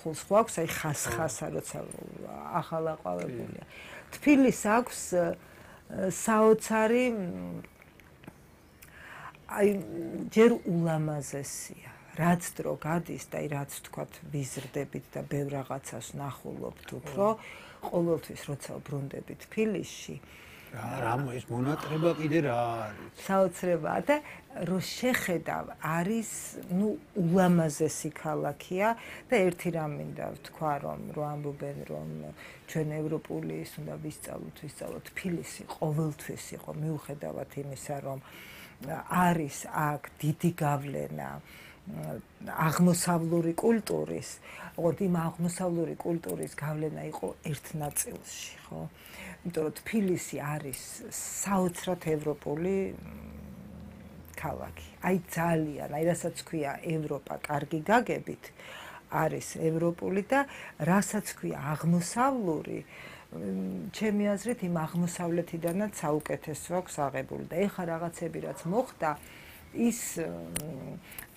სამსახურს ხო აქვს, აი ხასხასა, როცა ახალაყავებულია. თბილისს აქვს საოცარი აი ჯერ ულამაზესია. რაც დრო გადის და აი რაც თქვათ ვიზრდებით და ბევრ რაღაცას ნახულობთ უფრო, ყოველთვის როცა ვბრუნდები თბილისში რა ის მონატრება კიდე რა არის? საოცრებაა და რო შეხედავ არის ულამაზესი ქალაქია და ერთი რამ მინდა ვთქვა რომ ამბობენ რომ ჩვენ ევროპული ის უნდა ვისწავლოთ თბილისი ყოველთვის იყო მიუხედავად იმისა რომ არის აქ დიდი გავლენა აღმოსავლური კულტურის, ოღონდ იმ აღმოსავლური კულტურის გავლენა იყო ერთ ნაწილში, ხო? იმიტომ რომ თბილისი არის საოცრად ევროპული ქალაქი. აი ძალიან, აი რასაც ქვია ევროპა კარგი გაგებით, არის ევროპული და რასაც ქვია აღმოსავლური, ჩემი აზრით იმ აღმოსავლეთიდანაც საუკეთესო აქვს აღებული და ეხლა რაღაცები რაც მოხდა ის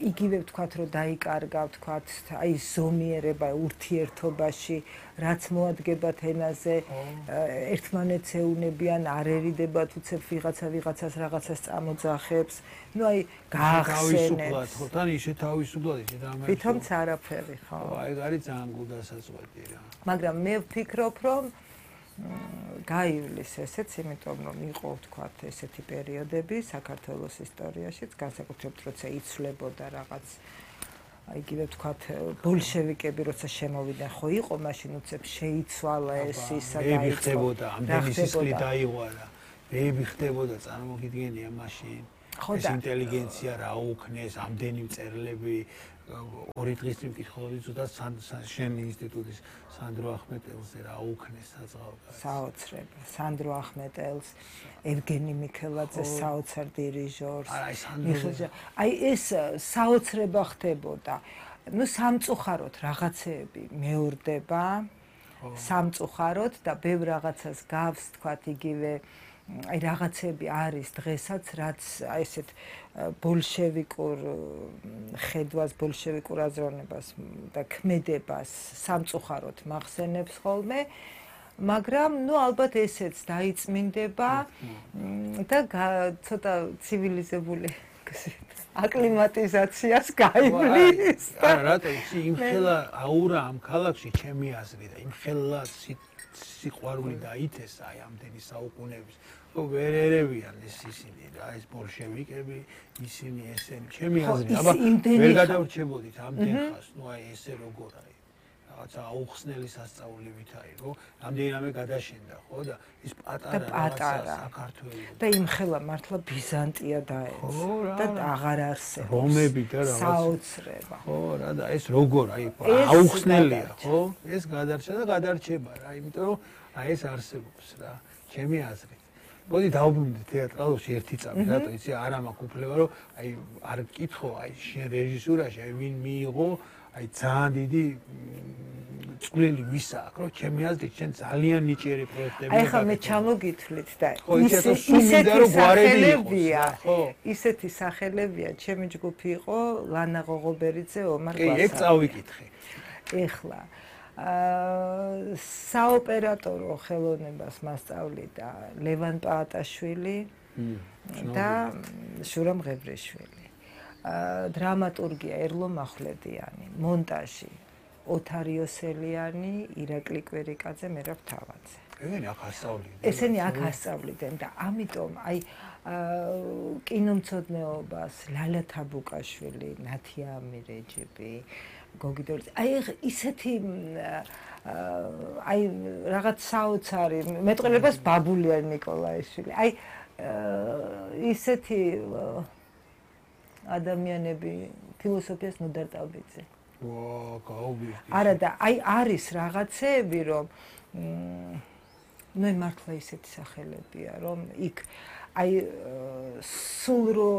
იგივე ვთქვათ რომ დაიკარგა ვთქვათ აი ზომიერება ურთიერთობაში რაც მოადგებათ ენაზე ერთმანეთს ეუნებიან არ ერიდებათ უცებ ვიღაცას რაღაცას წამოძახებს ნუ აი გაახსენებს ხო თან ისე თავისუფლად ისე და ამერიკა თვითონც არაფერი ხო აი არის ძალიან გულდასაწყვეტი რა მაგრამ მე ვფიქრობ რომ გაივლის ესეც, იმიტომ რომ იყო ვთქვათ ესეთი პერიოდები საქართველოს ისტორიაშიც, განსაკუთრებით როცა იცვლებოდა რაღაც აი იგივე ვთქვათ ბოლშევიკები როცა შემოვიდნენ, ხო იყო მაშინ უცებ შეიცვალა ეს ისა და მე ხდებოდა ამდენი სისხლი დაიღვარა. მე ხდებოდა წარმოგიდგენია მაშინ ეს ინტელიგენცია რა უქნეს, ამდენი მწერლები ორი დღის წინ ვკითხულობდი ცოტა შენ ინსტიტუტის სანდრო ახმეტელზე რა უქნეს საწყალგას. საოცრება. სანდრო ახმეტელს, ევგენი მიქელაძე საოცარ დირიჟორს. აი ეს საოცრება ხდებოდა. ნუ სამწუხაროდ რაღაცეები მეორდება. სამწუხაროდ და ბევრ რაღაცას გავს თქვათ იგივე აი რაღაცები არის დღესაც რაც აი ესეთ ბოლშევიკურ ხედვას, ბოლშევიკურ აზროვნებას და ქმედებას სამწუხაროდ მახსენებს ხოლმე, მაგრამ ნუ ალბათ ესეც დაიწმინდება და ცოტა ცივილიზებული აკლიმატიზაციას გაივლის. არა, რატო იმხელა აურა ამ ქალაქში ჩემი აზრით და იმხელა სიყვარული დაითესა აი ამდენი საუკუნეების ვერ ერევიან ისინი რა ეს ბოლშევიკები ისინი ესენი ჩემი აზრით აბა ვერ გადავრჩებოდით ამდენ ხას ნუ აი ესე როგორ აი რაღაცა აუხსნელი სასწაულებით აი რო ამდენამე გადაშენდა ხო და ის პატარა საქართველოს და იმხელა მართლა ბიზანტია დაეცა და აღარ არსებობს რომები და რაღაც საოცრება ხო რა და ეს როგორ აი აუხსნელია ხო ეს გადარჩა და გადარჩება რა იმიტომ რომ აი ეს არსებობს რა ჩემი აზრით მოდი დავბრუნდეთ თეატრალში ერთი წამი რატო იცი არ მაქვს უფლება რომ აი არ გკითხო აი შენ რეჟისურაში აი ვინ მიიღო აი ძალიან დიდი წვლილი ვის აქვს რომ ჩემი აზრით შენ ძალიან ნიჭიერი პროექტები აი ხა მე ჩამოგითვლით და ისეთი სახელებია ჩემი ჯგუფი იყო ლანა ღოღობერიძე ომარ გვასა კი ეგ წავიკითხე ეხლა საოპერატორო ხელოვნებას მასწავლიდა ლევან პაატაშვილი და შურამ ღებრიშვილი. დრამატურგია ერლო მახვლედიანი, მონტაჟი ოთარ იოსელიანი, ირაკლი კვერიკაძე, მერაბ თავაძე. ესენი აქ ასწავლიდნენ და ამიტომ აი კინომცოდნეობას ლალა თაბუკაშვილი, ნათია ამირეჯიბი გოგიდორი აი ისეთი აი რაღაც საოცარი მეტყველებას ბაბულიანი ნიკოლაიშვილი აი ისეთი ადამიანები ფილოსოფიას ნუდარტავბიძე არა და აი არის რაღაცეები რომ ნუ მართლა ისეთი სახელებია რომ იქ აი სულ რო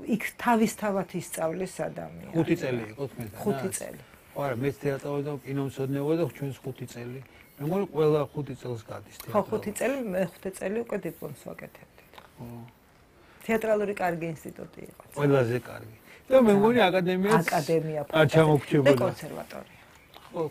იქ თავისთავად ისწავლის ადამიანი 5 წელი იყო თქვენ 5 წელი ხო არა მე თეატრალში და კინომცოდნეობა და ჩვენს 5 წელი მე მგონი ყველა 5 წელს გადის თეატრალში ხო 5 წელი მე 5 წელი უკვე დიპლომს ვაკეთებდით ხო თეატრალური კარგი ინსტიტუტი იყო ყველაზე კარგი და მე მგონი აკადემია აკადემია არ ჩამოგრჩებოდა და კონსერვატორია ხო